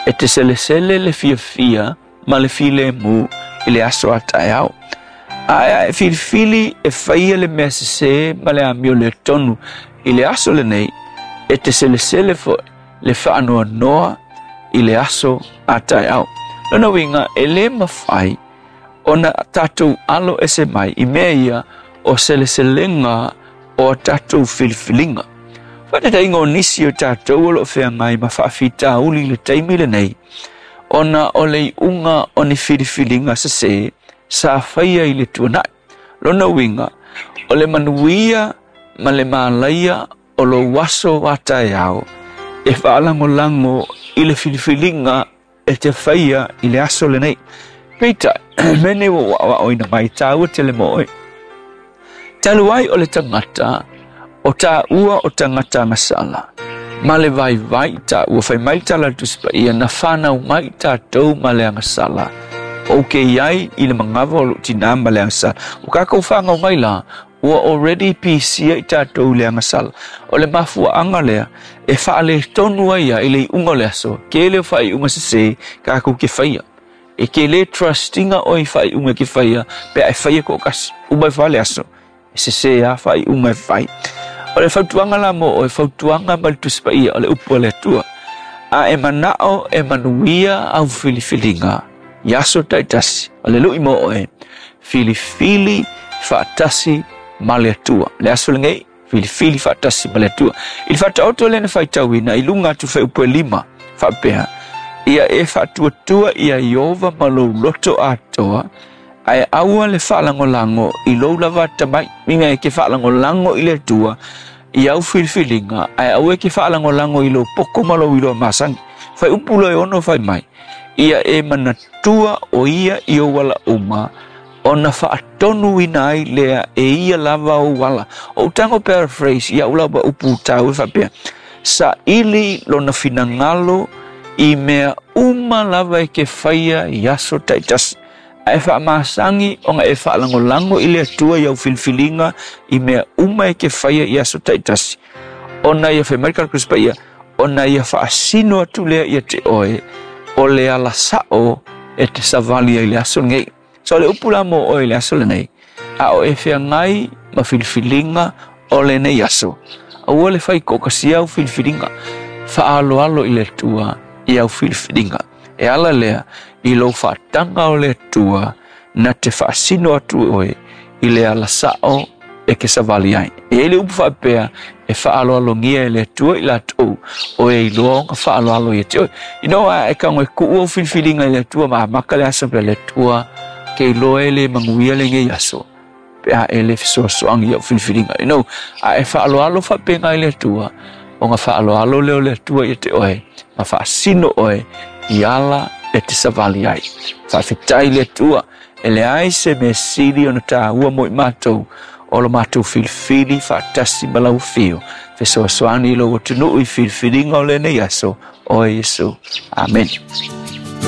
E te selesele le fiafia ma le filemu i le aso a taeao. Ae a e filifili e faia le mea sesē ma le amioletonu i le aso lenei, e te selesele foʻi le faanoanoa i le aso a taeao. Lona uiga e lē mafai ona tatou alo ese mai i mea ia o seleselega o a tatou filifiliga. Faataitaiga o nisi o tatou o loo feagai ma faafitauli i le taimi lenei ona o le iuga o ni filifiliga sesē sa faia i le tuanai. Lona uiga o le manuia ma le malaia o lou aso a taeao e faalagolago i le filifiliga e te faia i le aso lenei. Peitai, mea nei ua ou aoaoina mai tāua tele mo oe. Talu ai o le tagata o tāua o tagata agasala ma le vaivai tāua fai mai le tala a le Tusi Paia na fanau mai tatou ma le agasala. Ou ke i ai i le magava o lou tinā ma le agasala. Ua kākou fanau mai la, ua already pisia i tatou i le agasala. O le mafuaaga lea e faaletonu ai ia i le iuga o le aso, tele o faaiuga sesē kākou ke faia. E ke lē trust ina oe i faaiuga e ke faia pe a e faia toatasi. Uma ifo lava le aso, e sesē lava faaiuga e fai. O le fautuaga la mo oe, fautuaga mai le Tusi Paia o le upu a le Atua. A e manao e manuia au filifiliga i aso taitasi, o le lui mo oe, filifili faatasi ma le Atua. Le aso lenei, filifili faatasi ma le Atua. I le faataoto lea na faitauina i luga atu fuaiupu e 5, faapea, ia e faatuatua ia Ieova ma lou loto atoa, ae aua le faalagolago i lou lava atamai. Uiga e ke faalagolago i le Atua i au filifiliga, ae aua e ke faalagolago i lou poto ma lou iloa masani. Fuaiupu loa e 6 fai mai, ia e manatua o ia i ou ala uma, ona faatonuina ai lea e ia lava ou ala. O ou tago paraphrase i au lava upu tāua e faapea, saili lona finagalo i mea uma lava e ke faia i aso taitasi. Ae faamasagi ona e faalagolago i le Atua i au filifiliga i mea uma e ke faia i aso taitasi. Ona ia fai mai le tala Tusi Paia, ona ia faasino atu lea ia te oe o le ala sao e te savali ai i le aso lenei. So o le upu la mo oe i le aso lenei, a o e feagai ma filifiliga o lenei aso, aua le fai toatasi au filifiliga, faaaloalo i le Atua i au filifiliga. E ala lea i lou faataga o le Atua na te faasino atu oe i le ala sao e ke savali ai. E i ai le upu faapea e faaaloalogia e le Atua i latou o e iloa ona faaaloalo ia te oe. You know, a e tago e tuu au filifiliga i le Atua ma amata le aso pea le Atua ke iloa e le manuia lenei aso pe a e le fesoasoani i au filifiliga. You know, a e faaaloalo faapena i le Atua, ona faaaloalo lea o le Atua ia te oe ma faasino oe i ala e te savali ai. Faafetai i le Atua, e leai se mea sili ona tāua mo i matou o lo matou filifili faatasi ma lau afio. Fesoasoani i lou atunuu i filifiliga o lenei aso, oe Iesu. Amene.